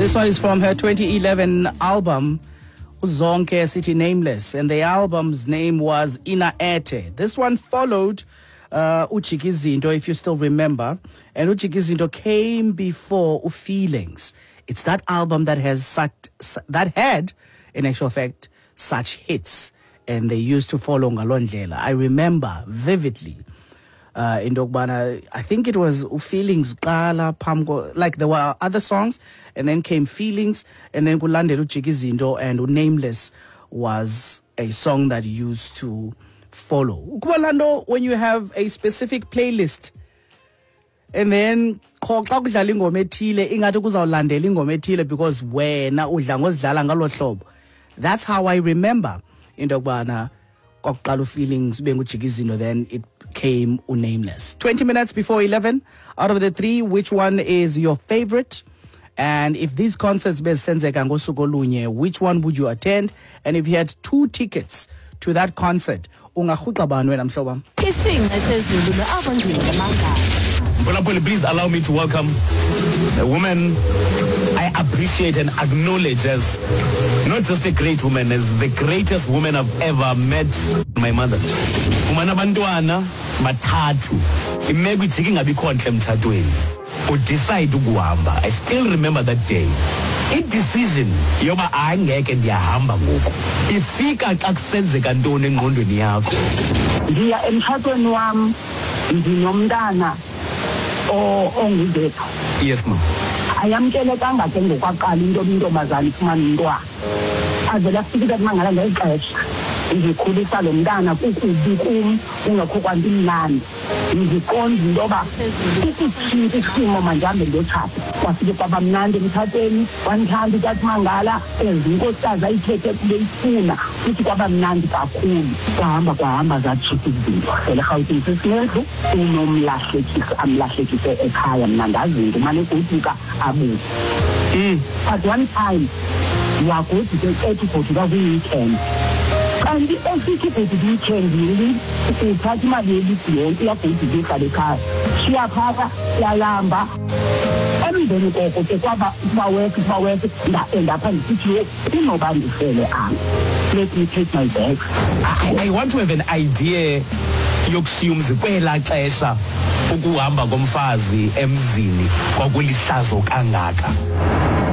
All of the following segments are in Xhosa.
This one is from her 2011 album Uzonke City Nameless, and the album's name was Ina Ete. This one followed Ujikizinto, if you still remember, and Ujikizinto came before Feelings. It's that album that has such, that had, in actual fact, such hits, and they used to follow ngaloo ndlela. I remember vividly into yokubana I think it was Feelings kuqala phambi, like there were other songs and then came Feelings and then kulandela Ujikizinto, and Nameless was a song that used to follow. Ukuba laa nto, when you have a specific playlist and then qho xa kudlala ingoma ethile ingathi kuzawulandela ingoma ethile because wena udla ngozidlala ngalo hlobo. That's how I remember into yokubana kwakuqala uFeelings, ube nguJikizinto, then it came uNameless. 20 minutes before 11. Out of the three, which one is your favorite? And if these concerts bezisenzeka ngosuku olunye, which one would you attend? And if you had two tickets to that concert, ungarhuqa bani wena, mhlobo wam? Isinqe sezulu noAbongile Mangala. Mphulaphuli, please allow me to welcome a woman I appreciate and acknowledge as not just a great woman, as the greatest woman I've ever met, my mother. Fumana abantwana bathathu. Imeko ijike ingabikho ntle emtshatweni. Udecide ukuhamba. I still remember that day. I-decision yoba angeke, ndiyahamba ngoku, ifika xa kusenzeka ntoni engqondweni yakho? Ndiya emtshatweni wam ndinomntana onguZethu. Yes, ma. Ayamkelekanga ke ngokwaqala into yoba intombazana ifumane umntwana. Avele afike utata Mangala ngeli xesha ndikhulisa lo mntana, kukubi kum, kungekho kwanto imnandi. Ndiqonda into yoba ukutshintsha isimo, mandihambe ndiyotshata. Kwafike kwaba mnandi emtshatweni, wandithanda utata Mangala as inkosikazi ayithethe kube ifuna, futhi kwaba mnandi kakhulu. Kwahamba kwahamba, zatshintsha izinto. Hlele eRhawutini sesinendlu, unomlahlekisi amlahlekise ekhaya. Mna ndazinto umane egoduka abuye, but one time wagoduka ethi ugoduka kwi-weekend, kanti esithi ugoduka i-weekend uthatha imali yelisi yonke, uyagoduka, uyohlala ekhaya, shiya phaka, siyalamba. Emveni koko ke kwaba kuba worse, kuba worse. Ndaendapha ndisithi, yho, kunoba ndifele apha, let me take my bags. I want to have an idea yokushiya umzi. Kwelaa xesha ukuhamba komfazi emzini kwakulihlazo kangaka.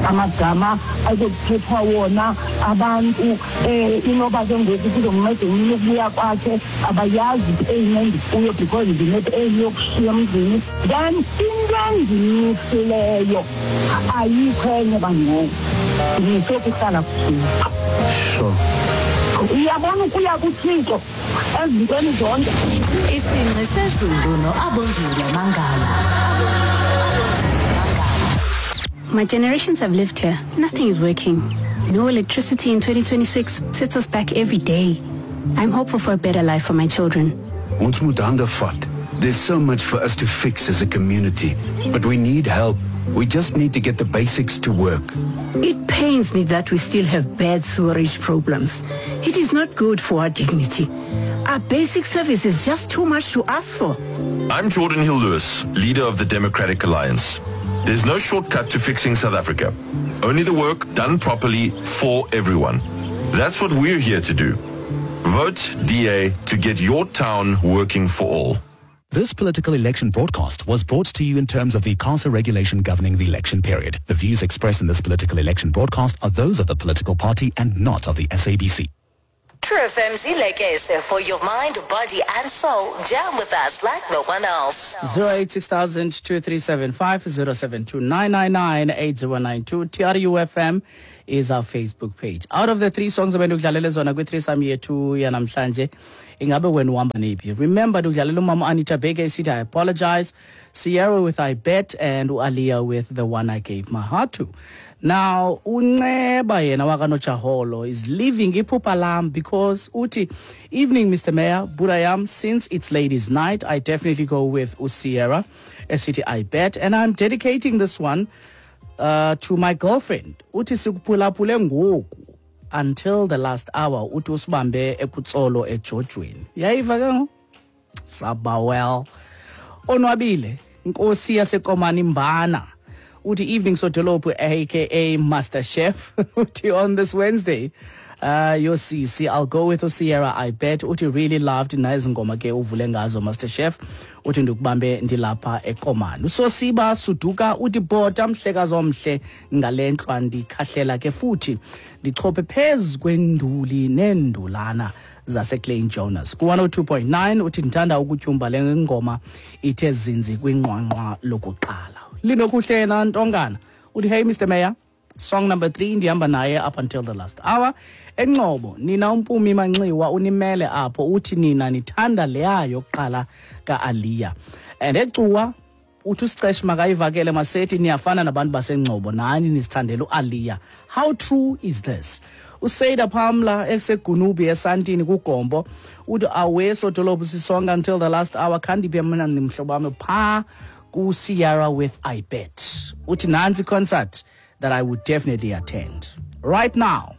Amagama azokuthethwa wona abantu, inoba ke ngoku kuzomnceda umntu ukubuya kwakhe, abayazi ipain endikuyo because ndinepain yokushiya emzini. Then into endimisileyo ayikho enye bangoku, ndimise kuhlala kuThixo. Uyabona, ukuya kuThixo ezintweni zonke. Isinqe sezulu noAbongile Mangala. My generations have lived here. Nothing is working. No electricity in 2026 sets us back every day. I'm hopeful for a better life for my children. Ons moet hande vat. There's so much for us to fix as a community, but we need help. We just need to get the basics to work. It pains me that we still have bad sewerage problems. It is not good for our dignity. Our basic service is just too much to ask for. I'm Jordan Hill Lewis, leader of the Democratic Alliance. There's no shortcut to fixing South Africa. Only the work done properly for everyone. That's what we're here to do. Vote DA to get your town working for all. This political election broadcast was brought to you in terms of the ICASA regulation governing the election period. The views expressed in this political election broadcast are those of the political party and not of the SABC. True FM's Ilekese for your mind, body and soul. Jam with us like no one else. 086 2375 072 8092. TRUFM is our Facebook page. Out of the three songs ebendikudlalele zona kwi-threesome yethu yanamhlanje, ingabe wena uhamba neyiphi? Remember, ndikudlalela umama Anita Baker esithi "I Apologize", Sierra with "I Bet", and uAliyah with "The One I Gave My Heart To". Now uNceba yena wakaNojaholo is living iphupha lam because uthi, "Evening, Mr Mayor Burayam. Since it's ladies' night, I definitely go with uSierra esithi 'I Bet', and I'm dedicating this one to my girlfriend." Uthi sikuphulaphule ngoku until the last hour. Uthi usibambe ekutsolo ejojweni. Yayiva ke ngoku, sabawel onwabile. Inkosi yaseKomani Mbana. Uthi evening sodolophu aka Master Chef. Uthi on this Wednesday yosisi I'll go with uSierra I bet. Uthi really loved nazi ngoma ke uvule ngazo Master Chef. Uthi ndikubambe ndilapha eKomani. Usosiba Suduka uthi bhota mhlekazi omhle ngale ntlwa ndikhahlela ke futhi ndichophe phezu kwenduli neendulana zaseClean Jonas ku-102.9. Uthi ndithanda ukutyumba le ngoma ithe zinzi kwinqwanqwa lokuqala. Linokuhle yena Ntongana uthi hey Mr Mayor, song number 3 ndihamba naye up until the last hour. Engcobo nina uMpumi Manxiwa unimele apho, uthi nina nithanda leya yokuqala ka-Aliya. And eCuwa uthi usicesh makayivakele masethi niyafana nabantu baseNgcobo nani nisithandela uAliya. How true is this? Useyida Pamla eseGunubi esantini kuGombo uthi awe sodolophu sisonga until the last hour khandiphe mna nimhlobo wami pha ku-Sierra with I Bet. Uthi nansi concert that I would definitely attend. Right now,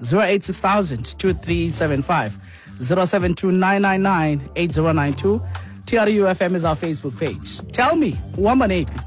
086,000 2375 072 999 8092. TRU FM is our Facebook page. Tell me, uhamba nephi?